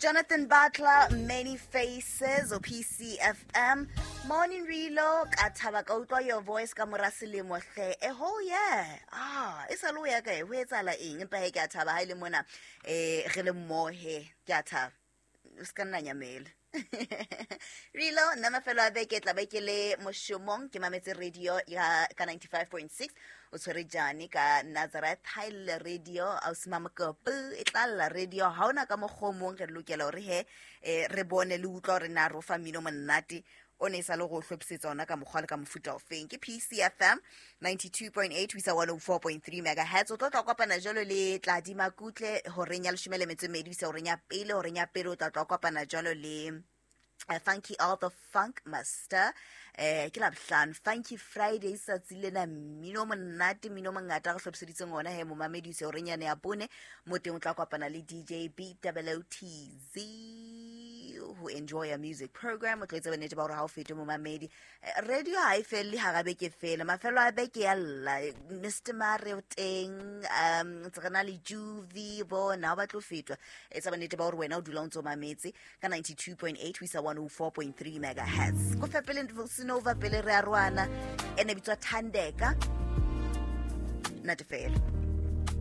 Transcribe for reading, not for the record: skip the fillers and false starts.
Jonathan Butler, Many Faces o PCFM. Morning Rilo, ka thaba ka utlwa your voice ka mora selemo hle. A whole year. Ah, e sa le o ya kae? Ho etsahala eng? Empa he ke a thaba ha e le mona re le mmoho he. Ke a thaba. O se ka nna nyamela. Rilo, nna mafelo a beke tla be ke le mošomong ke mametse radio ya ka 95.6 o tshwere jane ka Nazareth ha e lle radio ausi Mamokopu e tla lla radio ha ona ka mokgwa o mong re lokela hore he re bone le utlwa hore na re o fa mmino monate o ne e sa le go hlophisetsa ona ka mokgwa le ka mofuta ofeng. Ke PCFM 92.8 ho isa 104.3 megahertz. O tlo tla kopana jalo le Tladi Makutle horeng ya leshome le metso e mmedi ho isa horeng ya pele. Horeng ya pele o tla tla kopana jalo le Funky All the Funk Master. Ke Labohlano, Funky Friday, tsatsi lena mmino o monate, mmino o mongata re hlophiseditseng ona he momamedi ho isa horeng yane ya bone. Mo teng o tla kopana le DJ BWTZ ho enjoy a music program. O tlo etsa bonnete ba hore ha o fete momamedi. Radio ha e felle hara beke fela, mafelo a beke ya lla. Mr Mare o teng, ntse re na le Juvi, bona ha o batle ho fetwa. Etsa bonnete ba hore wena o dula o ntso mametse ka 92.8 ho isa 104.3 megahertz. Ko fepele Sinova pele re aroana, ene bitswa Thandeka. Nate fela.